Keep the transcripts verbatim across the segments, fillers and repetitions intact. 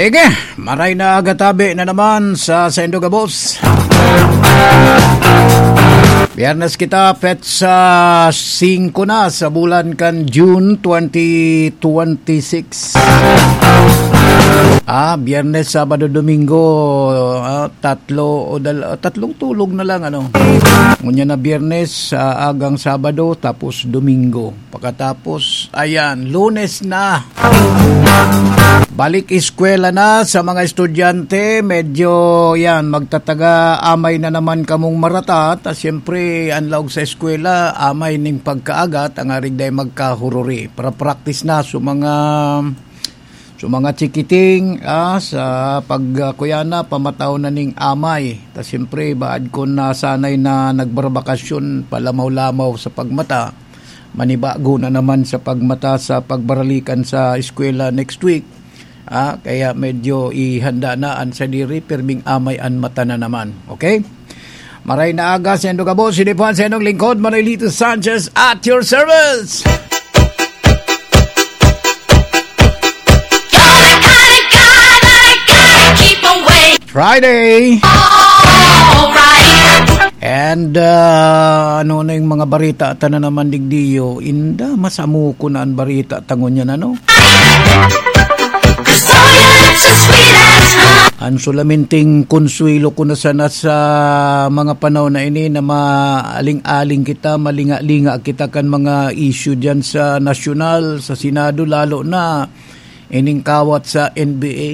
Ige, maray na aga tabi na naman sa saindo gabos. Biyernes kita, petsa singko na sa bulan kan June twenty twenty-six. Ah, Biyernes, Sabado, Domingo, ah, tatlo o dal-, ah, tatlong tulog na lang, ano. Ngunyan na Biyernes, ah, agang Sabado, tapos Domingo. Pakatapos, ayan, Lunes na. Balik eskwela na sa mga estudyante. Medyo, yan, magtataga amay na naman kamong marata. Ta siyempre, ang laog sa eskwela, amay ning pagkaaga, tangarig dai magkahururi. Para practice na sa mga, sa mga chikiting, ah, sa pag, ah, kuya na, pamataw na ning amay. Ta siyempre, baad ko na sanay na nagbarbakasyon, palamaw-lamaw sa pagmata. Manibago na naman sa pagmata sa pagbaralikan sa eskwela next week. Ah, kaya medyo ihanda na an sadiri, pirming amay an mata na naman. Okay? Maray na aga, sendo gabo, sinipon, sendong lingkod, Manuelito Sanchez at your service. You're the kind of guy that I gotta keep away. Friday. Alright. And, ah, ano na yung mga barita? Ata na naman digdiyo. Inda, masamo ko na ang barita. Tangon yan, ano? Ang sulaminting konsuelo ko na sana sa mga panahon na ini na maaling-aling kita, malinga-linga kita kan mga issue dyan sa nasyonal, sa Senado, lalo na ining kawat sa N B A.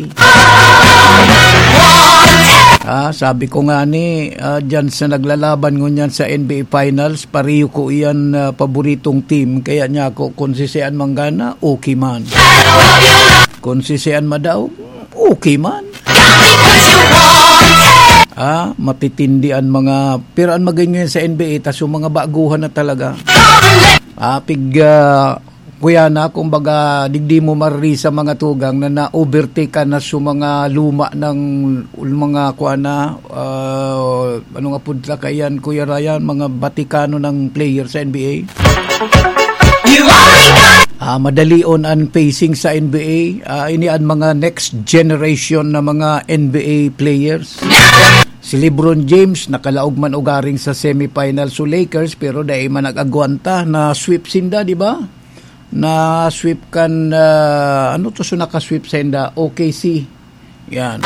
Ah, sabi ko nga ni, ah, dyan sa naglalaban ngunyan sa N B A Finals, pariyo ko iyan, ah, paboritong team. Kaya niya ako, kung si Sian Manggana, okay man. Kung si Sian Madaog, okay man. Ah, matitindi ang mga, pero ang maging ngayon sa N B A, tas yung mga baguhan na talaga. Ah, pig, ah, kuya na, kumbaga, digdi mo mariri sa mga tugang na na-overtake ka na sa mga luma ng, mga kuha na, ah, anong apod ka yan, Kuya Ryan, mga batikano ng player sa N B A. Ah, madalion ang pacing sa N B A. Ah, ini ang mga next generation na mga N B A players. Si LeBron James, nakalaog man ugaring sa semifinal sa Lakers, pero dai man nag-agwanta, na sweep sinda, di ba? Na sweep kan, ah, ano to, so naka-sweep sinda? O K C. Yan.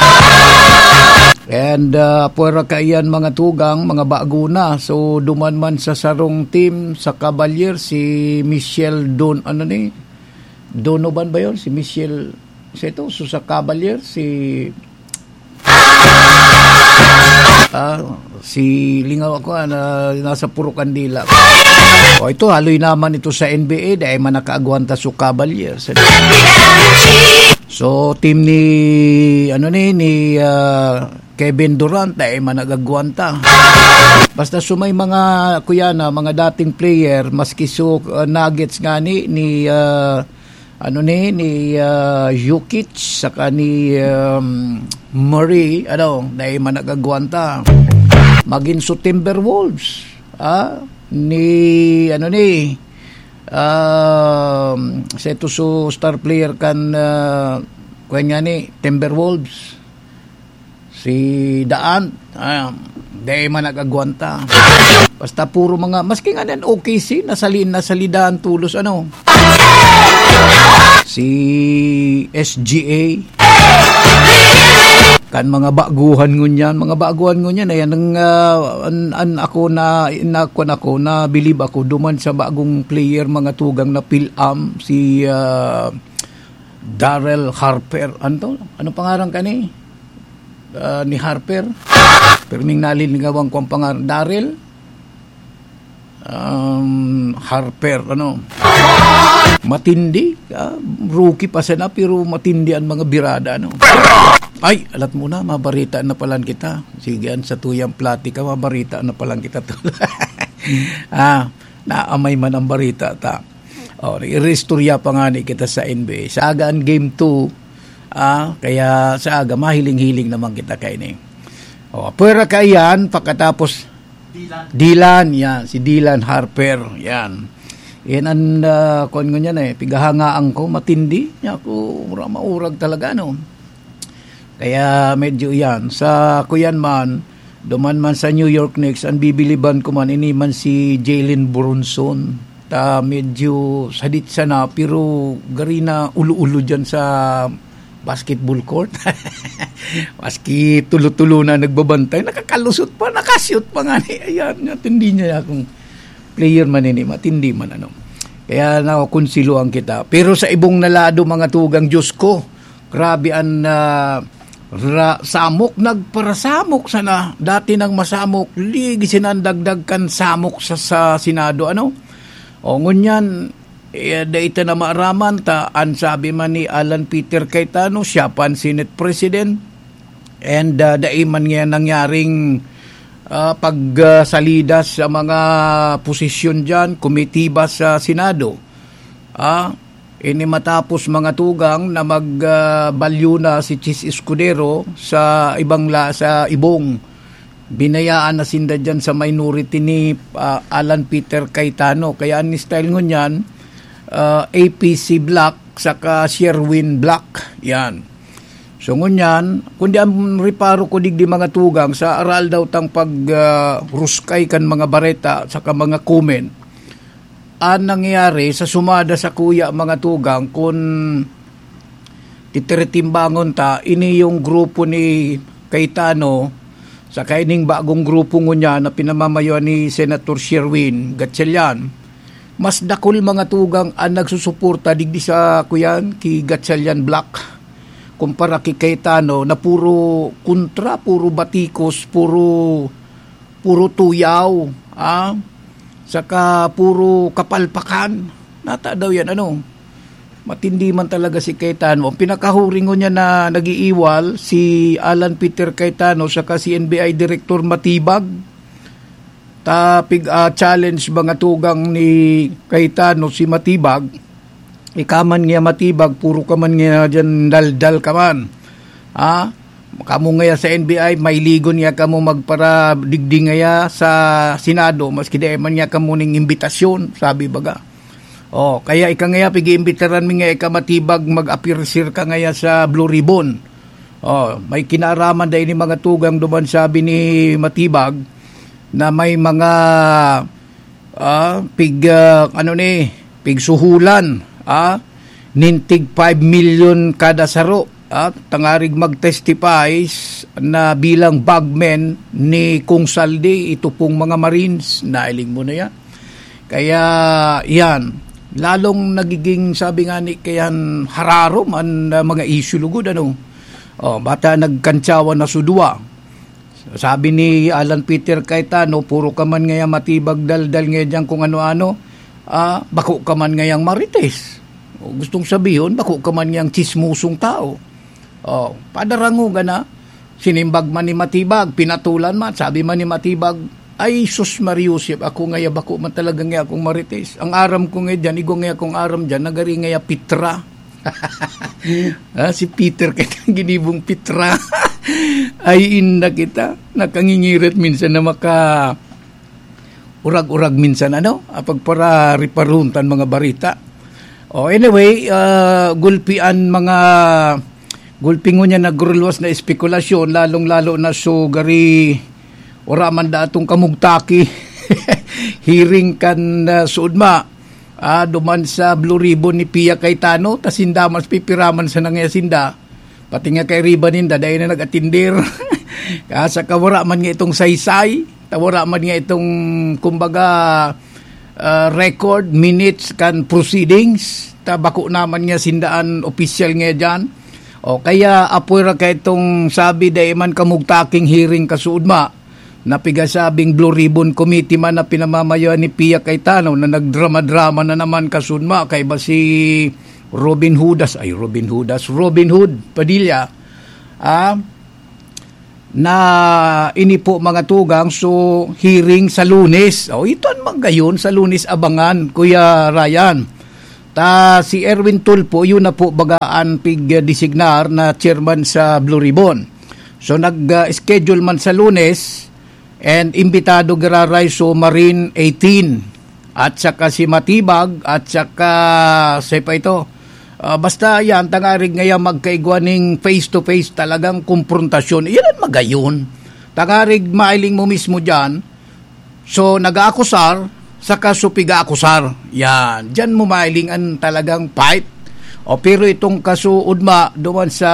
And, ah, pwera kaiyan mga tugang, mga bago na. So, duman man sa sarong team, sa Cavaliers, si Michelle Don, ano ni? Donovan ba yun? Si Michelle, sa ito, so sa Cavaliers, si, ah, si lingaw ako, ah, na, nasa Puro Kandila. O, ito, haloy naman ito sa N B A, dahil man nakaagwanta sa Cavaliers. So, team ni, ano ni, ni, ah, Kevin Durant, dai man nagagwanta. Basta so may mga, kuya na, mga dating player, maski so, ah, Nuggets nga ni, ni, ah, ano ni, ni, ah, Jokic, saka ni, um, Murray, ano, dai man nagagwanta. Magin so Timberwolves, ah, ni, ano ni, um, sa ito so star player kan, ah, kuwan nga ni, Timberwolves. Si Daan, ah, dai man nag-agwanta. Basta puro mga, maski nga nan O K C, nasali-, nasalidahan tulos, ano. Si S G A. Kan mga baguhan ngunyan, mga baguhan ngunyan, ayan ang, ah, an, an ako na, na, kwan ako, na bilib ako, duman sa bagong player, mga tugang na Phil-Am, si, ah, Darrell Harper. Ano to? Ano pangaran ka ni? Ah, ni Harper. Pirming nalilingawang ko ang pangalan. Daryl? Um, Harper, ano? Matindi. Ah, rookie pa sana, pero matindi ang mga birada, ano? Ay, alat mo na, mabarita na palan kita. Sige, an sa tuyang platika, mabarita na palan kita. Ah, naamay man ang barita, ta. Oh, iristorya pa nga ni kita sa N B A. Sa aga ang game two, ah, kaya sa aga, mahiling-hiling naman kita kaini. Oh, pwera kaiyan, pakatapos Dylan. Dylan, yan, si Dylan Harper, yan. Yan ang, ah, kuwan ko niyan eh, pigahangaan ko, matindi. Niya ako, mura-, maurag talaga, no? Kaya medyo yan. Sa kuyan man, duman man sa New York Knicks, ang bibiliban ko man, ini man si Jalen Brunson. Ta medyo sadit sana, pero gari na ulo-ulo dyan sa basketball court. Maski tulo-tulo na nagbabantay, nakakalusot pa, nakashoot pa nga ni. Ayan, matindi niya akong player man ini, matindi man ano. Kaya nakukonsiloan kita. Pero sa ibong na lado, mga tugang, Diyos ko, grabe an, ah, ra-, samok, nagparasamok sana. Dati nang masamok, ligi sinandagdag kan samok sa, sa Senado, ano? O, ngunyan, eh, dai ta na maaraman ta, an sabi man ni Alan Peter Cayetano, siya pa an Senate President, and, ah, dai man nga nangyaring, ah, pagsalida sa mga posisyon diyan, komitiba sa Senado. Ah, ini matapos, mga tugang, na mag, ah, balyo na si Chiz Escudero sa ibang la-, sa ibong. Binayaan na sinda diyan sa minority ni, ah, Alan Peter Cayetano. Kaya an style ngunyan, ah, A P C block saka Sherwin block. Yan. So ngunyan, kundi ang reparo ko digdi, mga tugang, sa aral daw tang pag, ah, ruskay kan mga bareta saka mga comment, an nangyayari sa sumada sa kuya, mga tugang, kun titiritimbangon ta, ini yung grupo ni Cayetano, saka ining bagong grupo ngunyan na pinamamayoan ni Senator Sherwin Gatchalian. Mas dakul, mga tugang, ang nagsusuporta digdi sa kuyan, ki Gatchalian Block, kumpara ki Cayetano, na puro kontra, puro batikos, puro, puro tuyaw, ah, saka puro kapalpakan. Nata daw yan, ano? Matindi man talaga si Cayetano. Ang pinakahuring ngunyan na nag-iiwal, si Alan Peter Cayetano saka si N B I Director Matibag. Ta pig, ah, challenge, mga tugang, ni Cayetano si Matibag. Ika man nga Matibag, puro ka man nga diyan daldal ka man. Ha? Kamo ngaya sa N B I, mailigon ngaya kamo magparadigdi ngaya sa Senado, maski dai man ngaya kamo ning imbitasyon, sabi baga. Oh, kaya ika ngaya, pag-iimbitaran mi ngaya ika Matibag, mag-appear ka ngaya sa Blue Ribbon. Oh, may kinaaraman dai ni mga tugang duman, sabi ni Matibag, na may mga, ah, pig, ah, ano ni, pigsuhulan, ah, nin tig five million kada saro, ah, tangarig mag-testify na bilang bagmen ni Kong Saldi, ito pong mga Marines, nailing mo na yan. Kaya, yan, lalong nagiging, sabi nga ni, kayan hararom an, ah, mga issue lugod, ano. Oh, bata nagkantsawan na sudwa. Sabi ni Alan Peter Cayetano, "Puro ka man ngaya Matibag daldal ngaya diyan kung ano-ano, ah, bako ka man ngayang Marites." O, gustong sabihon, bako ka man ngayang tsismosong tao. Oh, padarangoga na, sinimbag man ni Matibag, pinatulan man, sabi man ni Matibag, "Ay, sus, Mariosep, ako ngaya, bako man talaga ngaya akong Marites. Ang aram ko ngaya diyan, igwa ngaya akong aram diyan, nagari ngaya Pitra." Ah, si Peter, kaya ginibong Pitra. Ay, inda kita. Nakangingirit minsan na maka urag-urag minsan, ano? Ah, pagpara-, riparuntan mga barita. Oh, anyway, ah, gulpi an mga, gulpi ngunyan nagruluwas na espekulasyon, lalong-lalo na so gari, wala man datong kamugtaki. Hearing kan, ah, suudma. Ah, duman sa Blue Ribbon ni Pia Cayetano, ta sinda mas pipiraman sa nangya sinda. Pati nga kay Riba ninda, dai na nag-atindir. Ah, saka wala man nga itong saysay, ta wala man nga itong, kumbaga, ah, record, minutes kan proceedings, ta bako naman nga sindaan opisyal nga diyan. O kaya, apoy ra kay itong sabi, dai man kamugtaking hearing kasuudma, na pigasabing Blue Ribbon Committee man na pinamamayoan ni Pia Cayetano na nagdrama-drama na naman kasuudma kaiba si Robin Hudas, ay, Robin Hudas, Robin Hood Padilla, ah, na ini po mga tugang, so hearing sa Lunes. O, ito ang magayon sa Lunes abangan, Kuya Ryan. Ta si Erwin Tulfo, yun na po baga an pig-designar na chairman sa Blue Ribbon. So nag-schedule man sa Lunes, and imbitado giraray so Marine eighteen, at saka si Matibag, at saka, say pa ito, Ah, basta yan, tangarig ngaya magkaigwa ning face-to-face talagang komprontasyon. Yan ang magayon. Tangarig mailing mo mismo dyan. So, nag-aakusar, saka so piga-akusar. Yan. Dyan mo mailing ang talagang fight. O, pero itong kaso, Udma, duman sa,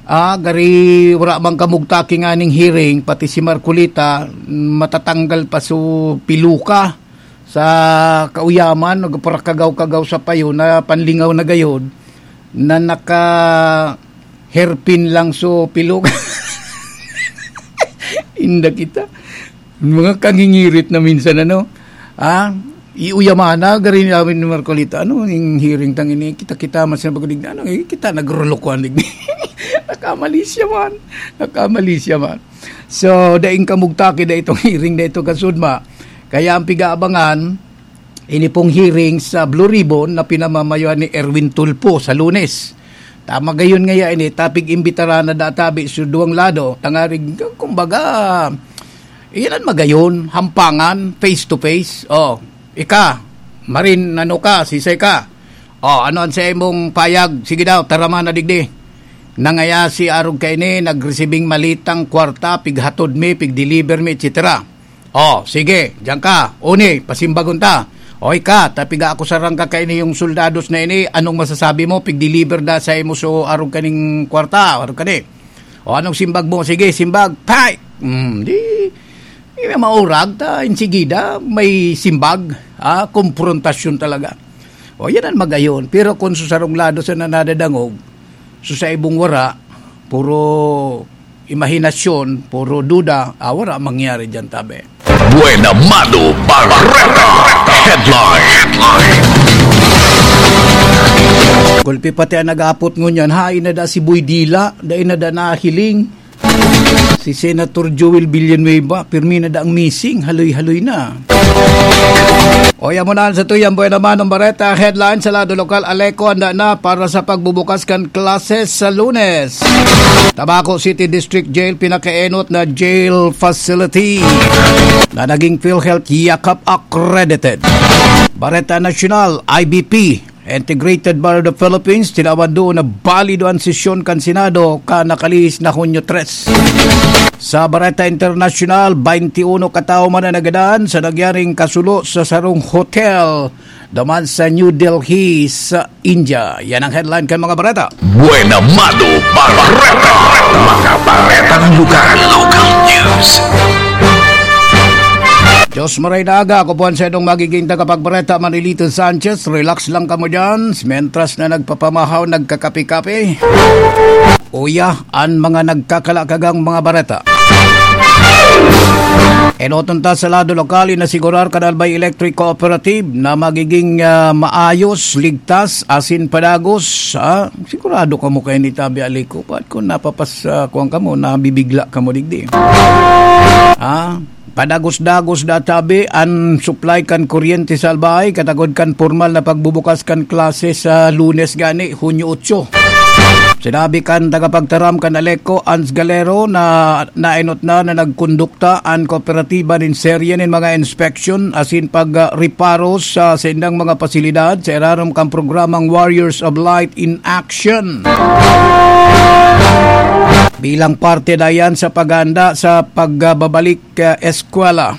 ah, gari, wala mang kamugtaki nga ning hearing, pati si Marcolita, matatanggal pa so piluka sa kauyaman, nagparakagaw-kagaw sa payo na panlingaw na gayod, na naka hairpin lang so pilog. Inda kita. Mga kangingirit na minsan, ano? Ah, iuyaman na, gari namin ni Marcolita. Ano, yung hearing tang ini, kita-kita, mas nabagudig na, ano, eh, kita nagrulukuan, digdi. Nakamalisya man. Nakamalisya man. So, daing kamugtaki na itong hearing na ito, kasudma. Kaya ang pigaabangan, ini pong hearing sa Blue Ribbon na pinamamayoan ni Erwin Tulfo sa Lunes. Tama gayon ngaya ini, tapig imbitaran na databi sa duwang lado, tangarig, kumbaga, iyan ang magayon, hampangan, face to face. Oh, ika, Marin, ano ka, sisay ka? Oh, ano ang sa imong payag? Sige daw, tarama na digdi. Nangaya si arog kaini, nagresibing malitang kwarta, pighatod mi, pigdeliver mi, et cetera. Oh, sige, diyan ka. Uni, pasimbagon ta. O ika, tapiga ako sarang kakaini yung soldados na ini, anong masasabi mo? Pigdeliver da sa imo so arog kaning kwarta, arog kani. O anong simbag mo? Sige, simbag. Pay! Hmm, di, di na maurag ta, insigida, may simbag. Ah, komprontasyon talaga. O, yan ang magayon. Pero kung sa sarong lado sa nanadadangog, so sa ibong wara, puro imahinasyon, puro duda, ah, wala mangyari dyan, tabi. Buena Mano Barreta Headline. Gulpi pati ang nag-apot ngunyan, hain na da si Boy Dila, dai na da nahiling. Si Senator Joel Villanueva, pirmi na da ang missing, haloy-haloy na. O, yan muna ang sa tuyang Buena Mano Barreta Headline sa lado lokal. Aleco, handa na para sa pagbubukas kan klase sa Lunes. Tabaco City District Jail, pinakaenot na jail facility na naging PhilHealth Yakap accredited. Bareta Nasyonal, I B P, Integrated Bar of the Philippines, tinawan doon na balido an sesyon kan Senado kan nakalihis na Hunyo tres. Sa Bareta Internasyonal, twenty-one katawo man ang nagadan sa nangyaring kasulo sa sarong hotel duman sa New Delhi sa India. Yan ang headline kan mga bareta. Buena Mano Barreta, mga baretang lugar. Local news. Diyos maray na aga, ako po ang sa inyong magiging tagapagbareta, Manilito Sanchez. Relax lang kamo dyan. Mentras na nagpapamahaw, nagkakape-kape. Uya, an mga nagkakalakagang mga bareta. Enoton ta sa lado lokal, inasigurar kan Albay Electric Cooperative na magiging, ah, maayos, ligtas, asin padagos. Ah, sigurado kamo kayo ni Tabi Aliko. Ba't kung napapas, ah, kuwan kamo, nabibigla kamo digdi? Ah, padagos-dagos da tabi an supply kan kuryente sa Albay, katagod kan pormal na pagbubukas kan klase sa Lunes gani, Hunyo otso. Sinabi kan tagapagtaram kan Aleco, Ans Galero, na naenot na na nagkondukta an kooperatiba nin serye nin mga inspeksyon asin pag, ah, reparo sa saindang mga pasilidad sa irarom kan programang Warriors of Light in Action. Bilang parte na yan sa paghahanda sa pagbabalik, ah, eskwela.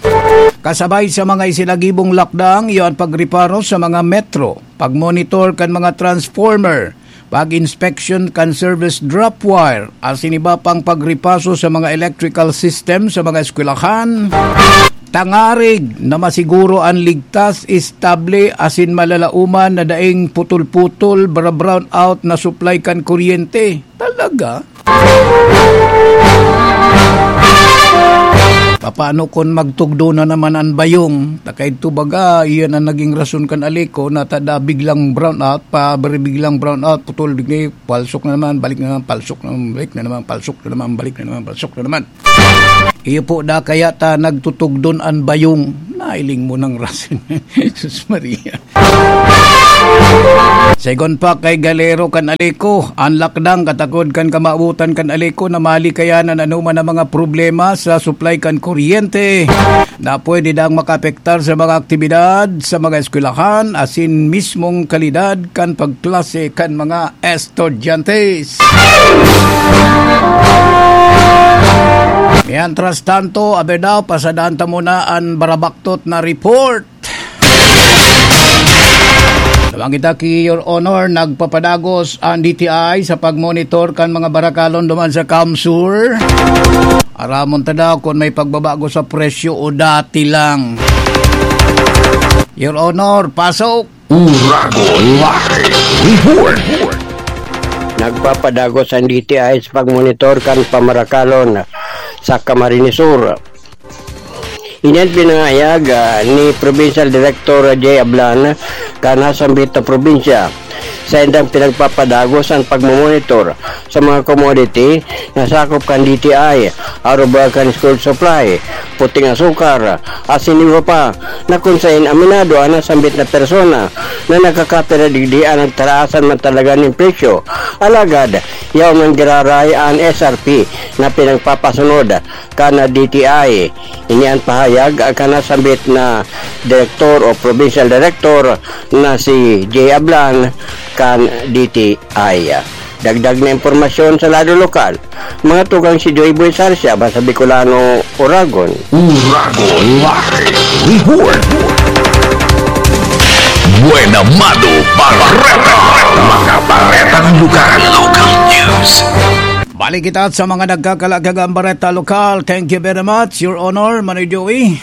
Kasabay sa mga isinagibong lakdang, iyo an pagreparo sa mga metro, pagmonitor kan mga transformer, pag-inspection kan service drop wire, asin iba pang pagripaso sa mga electrical system sa mga eskwelahan, tangarig na masiguro an ligtas, estable, asin malalaoman na daing putol-putol, bra-, brown out na supply kan kuryente. Talaga? Paano kun magtugdo na naman an bayong? Takay to baga, iyan ang naging rason kan Aleco na tada biglang brown out, pa biglang brown out, putol, bigla, palsok na naman, balik na naman, palsok na naman, balik na naman, palsok na naman, balik na naman, palsok na naman. Iyo po da kaya ta nagtutugdon an bayong. Nailing mo ng rason. Jesus Maria. Segun pa kay Galero kan Aleco, an lakdang katakod kan kamawotan kan Aleco na malikayan an anoman na mga problema sa supply kan kuryente na pwede daang makaapektar sa mga aktibidad sa mga eskwelahan asin mismong kalidad kan pagklase kan mga estudyante. Mientras tanto, aber daw, pasadaan ta muna an barabaktot na report. Nabanggit ta ki, Your Honor, nagpapadagos an D T I sa pagmonitor kan mga barakalon duman sa CamSur. Aramon ta daw kun may pagbabago sa presyo o dati lang. Your Honor, pasok! Uragon Live Report. Nagpapadagos ang D T I sa pagmonitor kan pamarakalon sa Camarines Sur. Ini an pinangahayag, ah, ni Provincial Director Jay Ablan kan nasambit na probinsya. Sa indang pinagpapadagos ang pagmomonitor sa mga commodity na sakop kan D T I, arog kan school supply, puting asukar, asin iba pa, na kun saen aminado an nasambit na persona na nakakapira digdi an nagtaraasan man talaga nin presyo. Alagad, yaon man giraray an S R P na pinagpapasunod kan D T I. Ini an pahayag kan nasambit na direktor o provincial director na si Jay Ablan kan D T I. Dagdag na impormasyon sa lado lokal, mga tugang si Joy Boy Sarsia, Basa Bicolano, Uragon. Uragon Live Report. Buena Mado Barreta. Mga baretang lugar. Local news. Balik kita sa mga nagkakalagkagang bareta lokal. Thank you very much, Your Honor, Manoy Joey.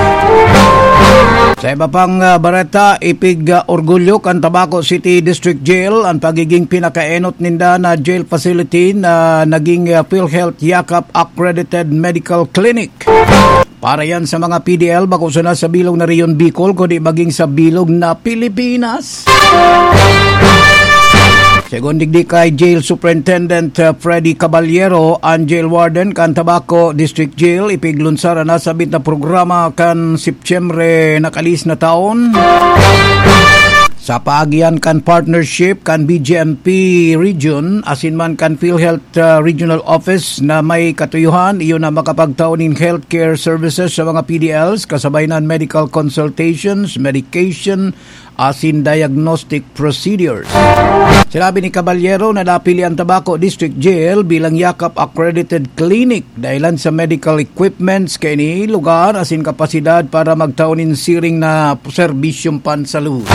Sa iba pang, ah, bareta, ipig, ah, orgulyo kan Tabaco City District Jail an pagiging pinakaenot ninda na jail facility na naging, ah, PhilHealth Yakap Accredited Medical Clinic. Para yan sa mga P D L, bako sana sa bilog na Rehiyon Bicol, kundi maging sa bilog na Pilipinas. Segun digdi kay Jail Superintendent, uh, Freddy Caballero, an jail warden kan Tabaco District Jail, ipiglunsar an nasabit na programa kan Setyembre nakalis na taon. Sa paagian kan partnership kan B J M P Region, asin man kan PhilHealth, uh, Regional Office na may katuyohan, iyo na makapagtao nin healthcare services sa mga P D Ls, kasabay na medical consultations, medication, asin diagnostic procedures. Sinabi ni Caballero na napili ang Tabaco District Jail bilang Yakap Accredited Clinic dahilan sa medical equipments kaini lugar asin kapasidad para magtao nin siring na serbisyong pansalud.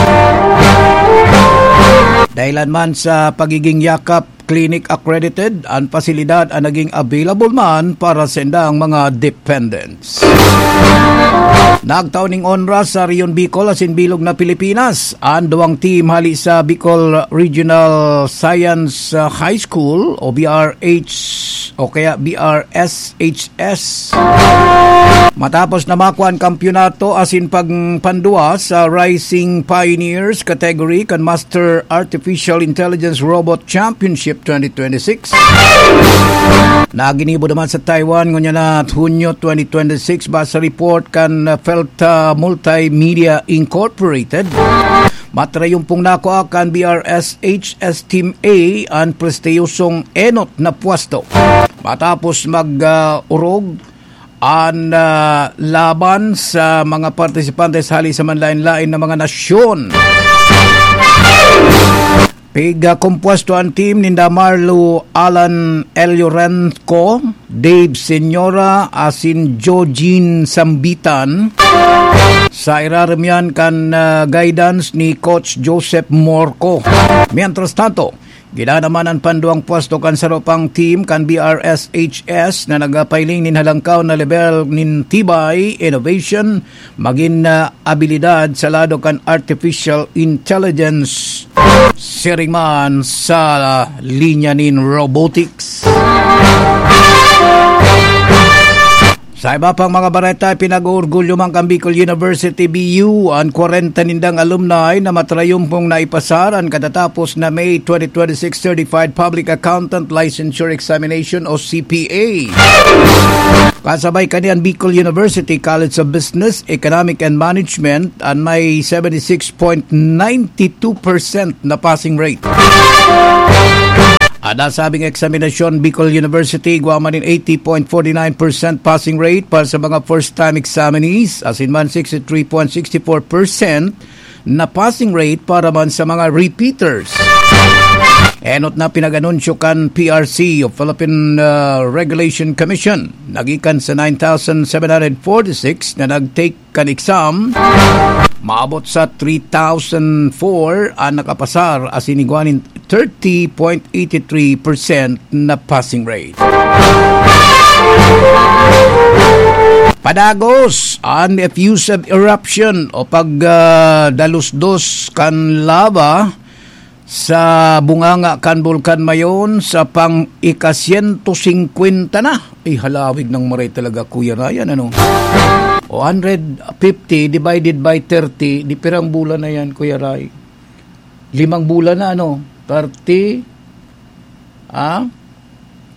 Dahilan man sa pagiging Yakap Clinic accredited, an pasilidad an naging available man para sa indang mga dependents. Nagtao ning onra sa Rehiyon Bicol asin bilog na Pilipinas an duwang team hali sa Bicol Regional Science, uh, High School o B R H o kaya B R S H S. Matapos na makua an kampyonato asin pagpandua sa Rising Pioneers category kan Master Artificial Intelligence Robot Championship twenty twenty-six. Naginibo naman sa Taiwan ngunyan na Hunyo twenty twenty-six, base sa report kan, uh, Felta Multimedia Incorporated. Matrayumpong nakua kan B R S H S Team A an prestiyosong enot na pwesto. Matapos mag, ah, orog an, ah, laban sa mga partisipantes hali sa manlaen-laen na mga nasyon. Pigkompuesto an team ninda Marlo Alan Eliorenco, Dave Señora, asin Jojin Sambitan. Sa irarom yan kan, ah, guidance ni Coach Joseph Morco. Mientras tanto, gidaan naman an panduang pwesto kan saro pang team kan B R S H S na nagapailing nin halangkaw na level nin tibay, innovation, magin na abilidad sa lado kan artificial intelligence, siring man sa linya nin robotics. Sa iba pang mga bareta, pinag-oorgulyo man kan Bicol University, B U, an kwarenta nindang alumni na matrayumpong naipasar an katatapos na May twenty twenty-six Certified Public Accountant Licensure Examination o C P A. Kasabay kani an Bicol University College of Business, Economic and Management, an may seventy-six point nine two percent na passing rate. An nasabing eksaminasyon, Bicol University, igwa man nin eighty point forty nine percent passing rate para sa mga first-time examinees, asin man sixty-three point six four percent na passing rate para man sa mga repeaters. Enot na pinag-anunsyo kan P R C o Philippine, uh, Regulation Commission. Nagikan sa nine thousand seven hundred forty-six na nag-take kan exam, maabot sa three thousand four an nakapasar, asin igwa nin thirty point eighty three percent na passing rate. Padagos, an effusive eruption o pag, ah, dalusdos kan lava sa bunganga kan Bulkan Mayon sa pang ika-siyento singkwenta na. Ay, halawig ng maray talaga, Kuya Ryan, ano? O, hundred fifty divided by thirty, di pirang bulan na yan, Kuya Ray? Limang bulan na, ano? Thirty, ah?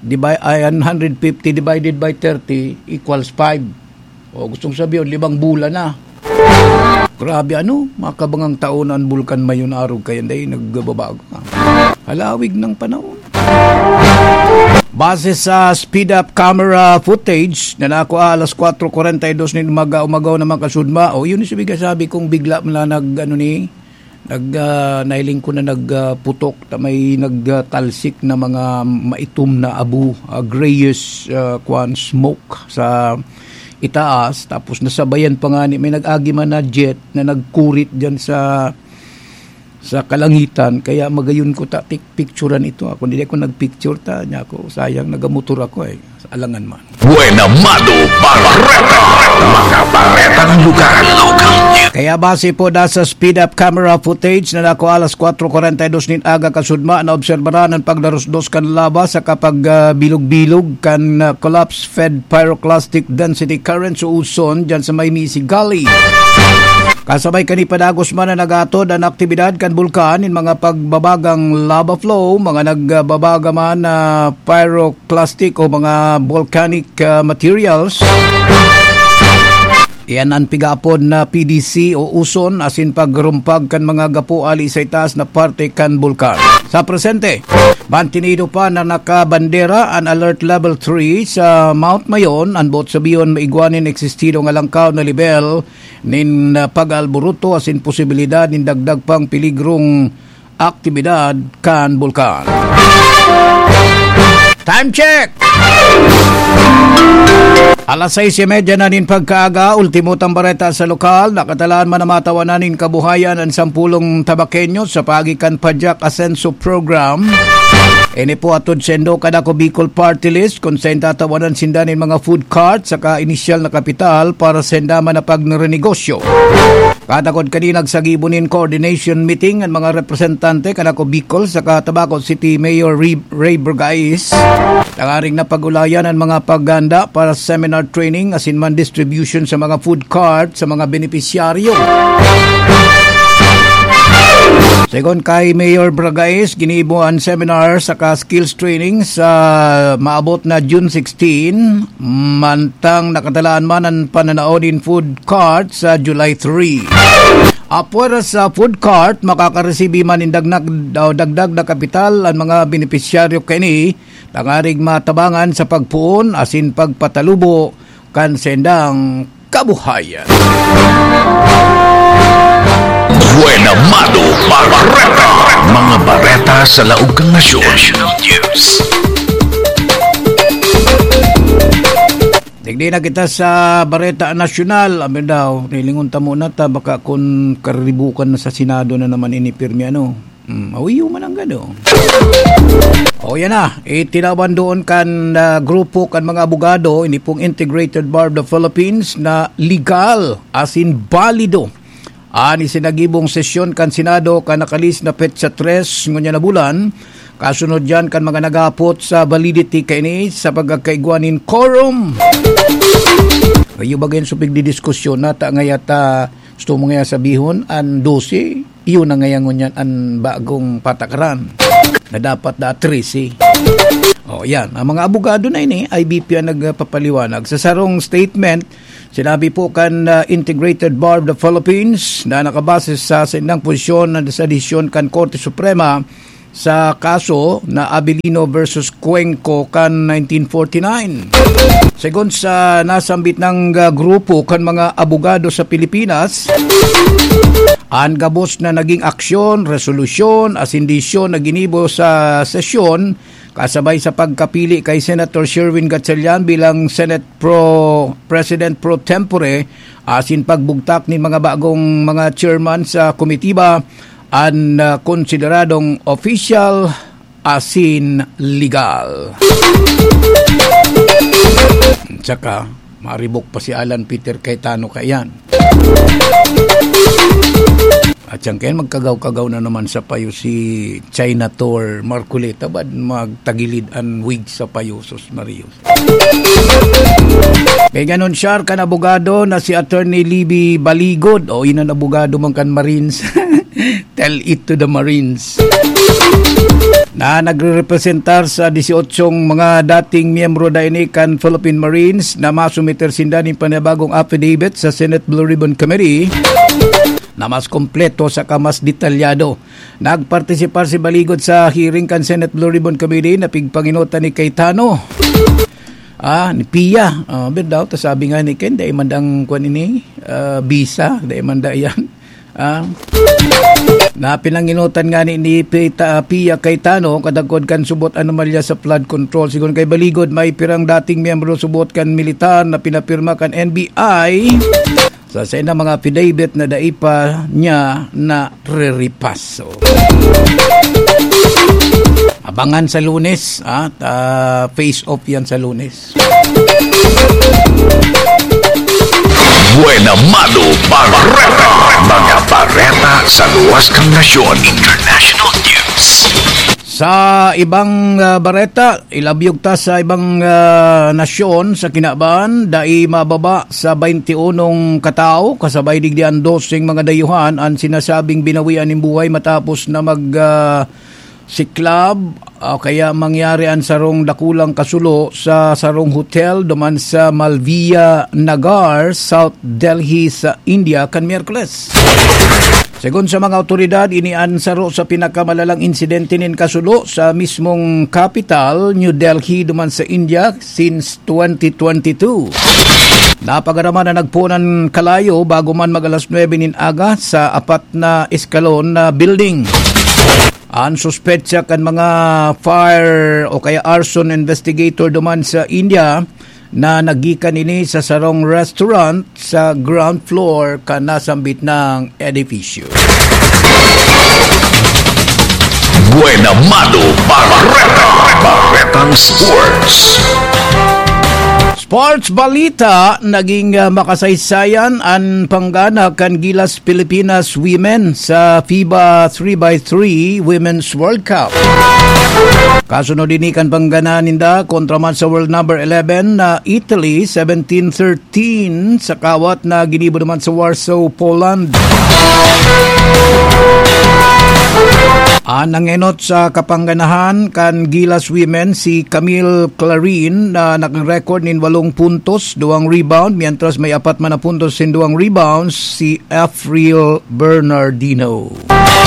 Divi-, ay, an hundred fifty divided by thirty equals five. O, gustong sabihin, limang bulan na. Grabe, ano? Makabangang taon na an Bulkan Mayon, arog kayan, dahil nagbabago. Halawig ng panahon. Base sa speed-up camera footage na nakuha alas kwatro kwarenta y dos nin umaga, umagaw na mga kasudma, o, yun yung sabi, sabi kong bigla man lang nag, ano ni, nag, ah, nailing ko na nag, ah, putok, na may nagtalsik na mga maitom na abo, ah, grayish, ah, kwan, smoke sa itaas. Tapos nasabayan pa nga ni, may nag-agi man na jet na nagkurit dyan sa, sa kalangitan. Kaya magayon ko ta, tik-, picturean ito. Ako, hindi ako nagpicture ta. Niya ako, sayang, nagamotor ako eh. Alangan man. Buena Mano Bareta. Mga baretang lugar. Kaya base po da sa speed-up camera footage na nakuha alas kwatro kwarenta y dos nin aga kasudma, naobserbaran an pagdarusdos kan laba sa kapag, ah, bilog-bilog kan, ah, collapse-fed pyroclastic density currents o uson dyan sa may Misi Gully. Kasabay kani padagos man na nagatod an aktibidad kan bulkan nin mga pagbabagang lava flow, mga nagbabaga man na pyro plastic o mga volcanic, ah, materials. Iyan an pigaapod na P D C o uson asin pagrumpag kan mga gapo ali sa itaas na parte kan bulkan. Sa presente, mantinido pa na nakabandera an Alert Level three sa Mount Mayon, an boot sabihon maigwa nin eksistidong alangkaw na lebel nin, ah, pag-aalburuto asin posibilidad nin dagdag pang peligrong aktibidad kan bulkan. Time check! Alas sais y media na nin pagkaaga, ultimo tang bareta sa lokal, nakatalaan man na matawanan nin kabuhayan an sampulong Tabaqueño sa paagi kan Pajak Asenso Program. Ini po atod sendo kan Ako Bicol Party List, kun sain tatawanan sinda nin mga food cart, saka inisyal na kapital para sa sinda man na pagrenegosyo. Katakod kani nagsagibo nin coordination meeting an mga representante kan Ako Bicol saka Tabaco City Mayor Ray, Ray Burgais. Tangaring napag-ulayan an mga paghanda para sa seminar training asin man distribution sa mga food cart sa mga benepisyaryo. Segun kay Mayor Burgais, ginibo an seminar saka skills training sa maabot na June sixteen, mantang nakatalaan man an pananao nin food cart sa July three. Apwera sa food cart, makakaresibi man nin dagdag, o dagdag na kapital an mga benepisyaryo kaini, tangaring matabangan sa pagpoon asin pagpatalubo kan sendang kabuhayan. Buena Mano Bareta. Mga bareta sa laog kan nasyon. Digdi na kita sa Bareta Nasyonal. Abi daw, nilingon ta muna ta, baka kun karibukan na sa Senado na naman ini pirmi, ano. Hmm, awiyo man ang gano. O, yan na. Itinaban doon kan, ah, grupo kan mga abogado, ini pong Integrated Bar of the Philippines, na legal, as in balido, an isinagibong sesyon kan Senado kan nakalis na petsa tres ngunyan na bulan, kasunod diyan kan mga nagapot sa validity kaini sa pagkakaigwa nin quorum. Iyo ba gayon supig di diskusyon na ta ngaya ta, gusto mo ngaya sabihon, an dose, iyo na ngaya ngunyan an bagong patakaran na dapat da trese. O, yan. Ang mga abogado na ini, I B P ang nagpapaliwanag. Sa sarong statement, sinabi po kan, ah, Integrated Bar of the Philippines na nakabase sa saindang posisyon na sa desisyon kan Korte Suprema sa kaso na Abilino versus Cuenco kan nineteen forty-nine. Segun sa nasambit nang, ah, grupo kan mga abogado sa Pilipinas, an gabos na naging aksyon, resolusyon, asin desisyon na ginibo sa sesyon, kasabay sa pagkapili kay Senator Sherwin Gatchalian bilang Senate Pro, President Pro Tempore, asin pagbugtak nin mga bagong mga chairman sa komitiba, an, ah, konsideradong opisyal asin legal. Tsaka, maribok pa si Alan Peter Cayetano kaiyan. At siya kayan, magkagaw-kagaw na naman sa payo si China Tour Marcoleta, bad magtagilid an wig sa payo, sus Maria. Kay ganon, siya kan abogado na si Attorney Libby Baligod, o inon abogado man kan Marines. Tell it to the Marines. Na nagrerepresentar sa dieciocho mga dating miyembro da ini kan Philippine Marines na masumiter sinda nin panibagong affidavit sa Senate Blue Ribbon Committee na mas kompleto saka mas detalyado. Nagpartisipar si Baligod sa hearing kan Senate Blue Ribbon Committee na pigpanginotan ni Cayetano. Ah, ni Pia. Ah, birdaw, ta sabi nga ni Ken, dai man dang kwan ini, ah, visa, dai man da iyan. Ah, na pinanginutan nga ni, ni Pita, Pia Cayetano, kadagkod kan subot anomalya sa flood control. Sigon kay Baligod, may pirang dating miyembro subot kan militar na pinapirma kan N B I sa saindang mga affidavit na dai pa niya nariripaso. Abangan sa Lunes, ah, ta face off yan sa Lunes. Buena Mano Bareta. Mga bareta sa luwas kan nasyon. International News. Sa ibang, ah, bareta, ilabyog ta sa ibang, ah, nasyon sa kinaban, dai mababa sa baynti unong katao, kasabay digdi an doseng mga dayuhan an sinasabing binawian nin buhay matapos na mag, ah, siklab, o kaya mangyari an sarong dakulang kasulo sa sarong hotel duman sa Malviya Nagar, South Delhi sa India kan Miyerkules. Segun sa mga awtoridad, ini an saro sa pinakamalalang insidente nin kasulo sa mismong capital, New Delhi, duman sa India since twenty twenty-two. Napagarama na nagpoon an kalayo bago man mag-alas nuebe nin aga sa apat na eskalon na building. An suspetsa kan mga fire o kaya arson investigator duman sa India na naggikan ini sa sarong restaurant sa ground floor kan nasambit na edipisyo. Buena Mano Bareta. Baretang Sports. Sports balita, naging, ah, makasaysayan an panggana kan Gilas Pilipinas Women sa FIBA three by three Women's World Cup. Kasunod ini kan panggana ninda kontra man sa world number eleven na Italy, seventeen thirteen sa kawat na ginibo naman sa Warsaw, Poland. An nangenot sa kapangganahan kan Gilas Women si Camille Clarin na nag-record nin walong puntos, duwang rebound, mientras may apat man na puntos sin duwang rebounds si Afriel Bernardino.